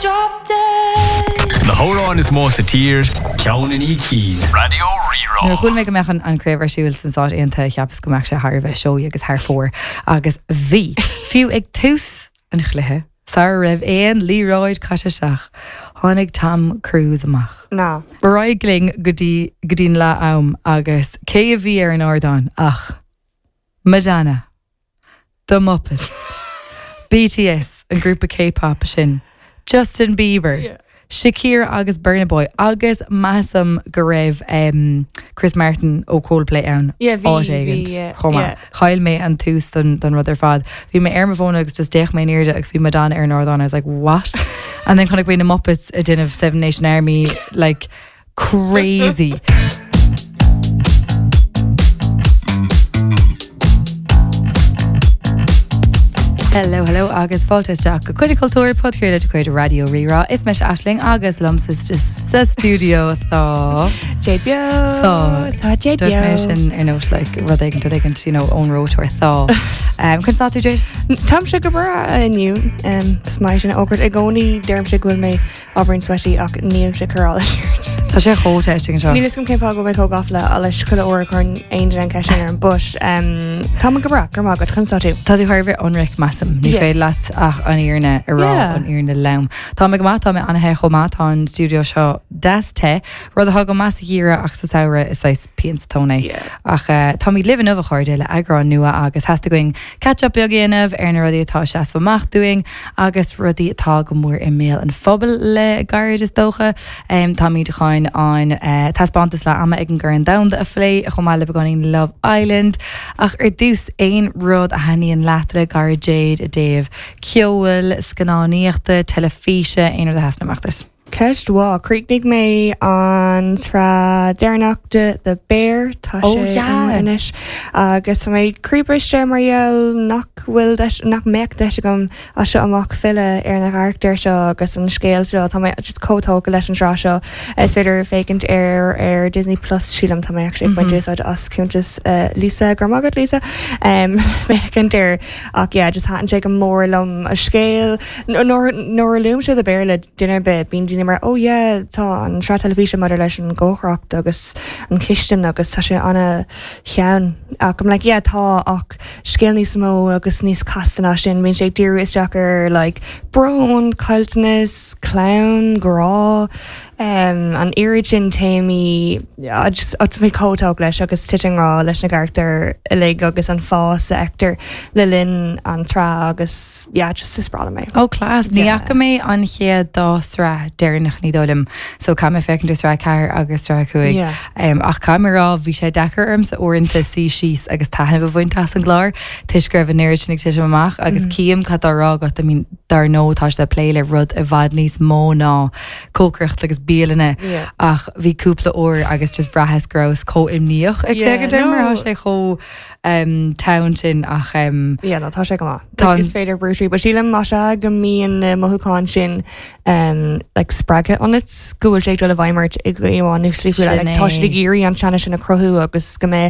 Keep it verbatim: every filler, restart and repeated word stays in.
Drop dead. Na hamhráin is mó sa tír ceann i ndiaidh cinn. Raidió Rí-Rá. Nuair a chuala mé go mbeadh an, an craobh ar siúl sna Stáit Aontaithe cheapas go mbeadh sé thar a bheith seoigh agus thar fóir agus bhí fiú ag tús an chluiche sara raibh aon liathróid caite isteach tháinig Tom Cruise amach. Ná. Ba glinn go dtí go dtí'n leath am agus cé a bhí ar an ardán ach Madonna, The Muppets, BTS an grúpa K-pop sin, Justin Bieber, Yeah. Shakira agus Burna Boy agus measaim go raibh um, Chris Martin ó Coldplay ann Yeah, bhí- áit bhí, éigin yeah, chomh maith. yeah. Chaill mé an tús don, don rud ar fad. Bhí mé ar mo bhóna agus just d'fhéach mé in airde agus bhí Madonna ar an ardán I was like what? And then chonaic mé na Muppets ag déanamh Seven Nation Army like crazy. Hello, hello agus fáilte isteach go Coinne Cultúir podchraoladh de chuid Raidió Rí-Rá is mise Aisling agus liom sa sa studio tá Jade Beo Tá. Tá Jade Dúirt mé Beo. sin ar nós like rud éigin rud éigin you know ón rótar tá. Um, Conas tá tú Jade? Táimse go breá inniu is maith sin ógart i gcónaí deirimse go bhfuil mé ábhairín sweaty ach nílimse corráil. Tá sé chomh te anseo. Níl a fhios agam cén fáth go mbeidh chomh gafa le leis chuile uair chuireann aon duine an ceist sin orm, but um, tá go breá gur maith conas tá tú. Tá tú thar a bheith ionraic measaim, ní Yes. féidir leat ach an fhírinne a rá Yeah. an fhírinne lom. Tá mé go maith tá mé an-the chomh maith tá an studio seo deas te, rud atá go maith sa gheimhreadh ach sa samhradh is é pian sa tóin é. Yeah. Ach uh, táimid libh inniu a chairde le eagrán nua agus theastaigh uainn catch-up beag a dhéanamh ar na rudaí atá seasamh amach dúinn agus rudaí atá go mór i mbéal an phobail le gairid is dócha. Um, Táimid chun an uh, taispeántas leath ama ag an gCorn Domhanda a phlé chomh maith le beagáinín Love Island ach ar dtús aon rud a thaitníonn leat le gairid Jade i dtaobh ceoil, scannánaíochta, teilifíse aon rud a sheasann amach duit. Ceist mhaith chríochnaigh mé an tsraith deireanach de The Bear tá Oh, sé yeah. amuigh anois agus tá mé croíbhriste mar gheall nach bhfuil deis- nach mbeidh deis agam as seo amach filleadh ar na carachtair seo agus an scéal seo tá mé just chomh tógtha leis an tsraith seo is féidir féachaint ar ar Disney Plus sílim tá mé actually ag baint úsáid as cuntas uh, Lisa gur magat Lisa um, féachaint ar ach yeah, just thaitin sé go mór liom a scéal nuair nuair a luaimse The Bear le duine ar bith bíonn daoine mar oh yeah tá an tsraith teilifíse maidir leis an gcócaireacht agus an chistin agus tá sé an-cheann ach I'm like yeah tá ach scéal níos mó agus níos casta ná sin bíonn sé ag díriú isteach ar like brón, caillteanas, clann, grá um, an oiread sin téamaí yeah, just mé chomh tógtha leis agus titim i ngrá leis na carachtair uilig agus an fás a fheictear le linn an tsraith agus yeah, just is breá liom é. Ó class ní Yeah. fhaca mé an chéad dá sraith deireanach ní dóigh liom, so caithfidh mé féachaint ar sraith ceathair agus sraith cúig. Yeah. Um, ach caithfidh mé rá bhí sé deacair ormsa uaireanta suí síos agus taitneamh a bhaint as an gclár toisc go raibh an oiread sin ag titim amach agus mm. cím cad á rá agat I mean, dar ndóigh tá sé plé le rud i bhfad níos mó ná cócaireacht agus bialanna Yeah. ach bhí cúpla uair agus just bhraitheas go rabhas chomh imníoch ag Yeah, féachaint air mar no. tá sé chomh um, teann sin ach um, Yeah, no, tá sé go maith. Tá Like, an- is féidir brútrí, but sílim má sé go mbíonn na mothúcháin sin um, like, spreagtha ionat go bhfuil sé dul i bhfeidhm ort i gcomháin nó slí Sin like, tá é. siad ag iarraidh an teannas sin a chruthú agus go mbeidh